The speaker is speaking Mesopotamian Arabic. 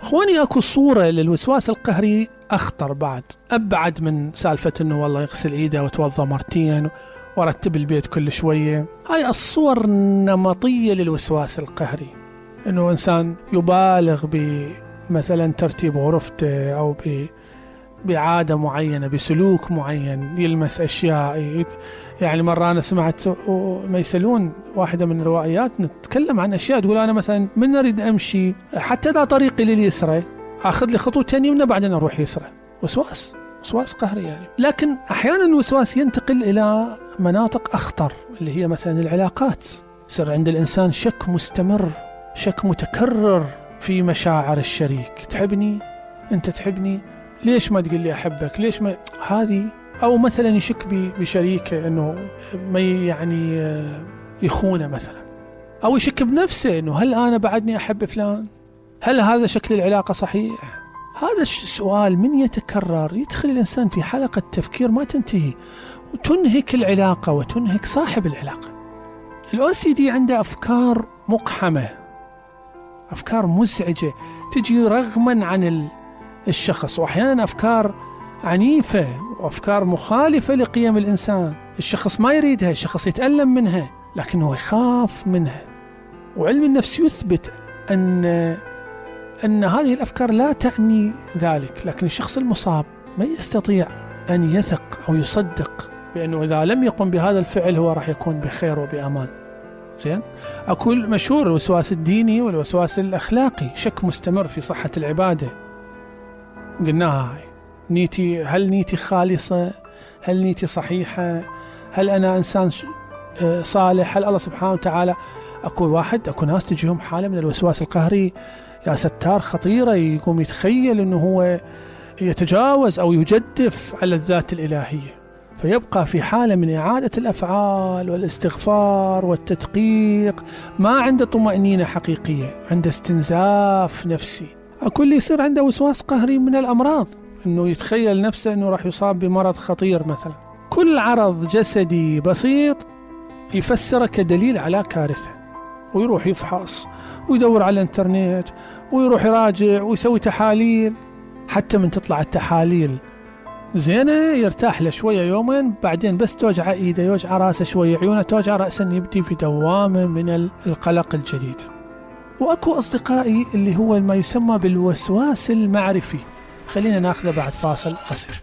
اخواني اكو صورة للوسواس القهري اخطر بعد، ابعد من سالفة انه والله يغسل ايده وتوضى مرتين ورتب البيت كل شوية. هاي الصور النمطية للوسواس القهري، انه انسان يبالغ بمثلا ترتيب غرفته او بعادة معينة، بسلوك معين، يلمس اشياء. يعني مرة انا سمعت ما يسألون واحدة من الروائيات نتكلم عن اشياء، تقول انا مثلا من اريد امشي حتى لا طريقي لليسرى اخذ لي خطوتين يمنى بعدين اروح يسرى. وسواس قهري يعني. لكن احيانا الوسواس ينتقل الى مناطق اخطر، اللي هي مثلا العلاقات. يصير عند الانسان شك مستمر، شك متكرر في مشاعر الشريك. تحبني؟ انت تحبني؟ ليش ما تقول لي احبك؟ ليش ما هذه؟ او مثلا يشك بشريكه انه ما يعني يخونه مثلا، او يشك بنفسه انه هل انا بعدني احب فلان؟ هل هذا شكل العلاقه صحيح؟ هذا السؤال من يتكرر يدخل الانسان في حلقه تفكير ما تنتهي، وتنهك العلاقه وتنهك صاحب العلاقه. الOCD عنده افكار مقحمه، افكار مزعجه تجي رغما عن الشخص، واحيانا افكار عنيفه وافكار مخالفه لقيم الانسان. الشخص ما يريدها، الشخص يتألم منها لكنه يخاف منها. وعلم النفس يثبت أن هذه الأفكار لا تعني ذلك، لكن الشخص المصاب ما يستطيع أن يثق أو يصدق بأنه إذا لم يقم بهذا الفعل هو راح يكون بخير وبأمان. زين؟ أكو مشهور الوسواس الديني والوسواس الأخلاقي، شك مستمر في صحة العبادة. قلناها هاي نيتي، هل نيتي خالصة؟ هل نيتي صحيحة؟ هل أنا إنسان صالح؟ هل الله سبحانه وتعالى؟ أكو ناس تجيهم حالة من الوسواس القهري يا ستار خطيرة، يقوم يتخيل أنه هو يتجاوز أو يجدف على الذات الإلهية، فيبقى في حالة من إعادة الأفعال والاستغفار والتدقيق، ما عنده طمأنينة حقيقية، عنده استنزاف نفسي. أكو اللي يصير عنده وسواس قهري من الأمراض، أنه يتخيل نفسه أنه راح يصاب بمرض خطير مثلا. كل عرض جسدي بسيط يفسره كدليل على كارثة، ويروح يفحص ويدور على الانترنت ويروح يراجع ويسوي تحاليل. حتى من تطلع التحاليل زينة يرتاح له شوية يومين، بعدين بس توجع ايده، يوجع راسه شوية، عيونه توجع، رأسا يبدي في دوامة من القلق الجديد. واكو اصدقائي اللي هو ما يسمى بالوسواس المعرفي. خلينا ناخذه بعد فاصل قصير.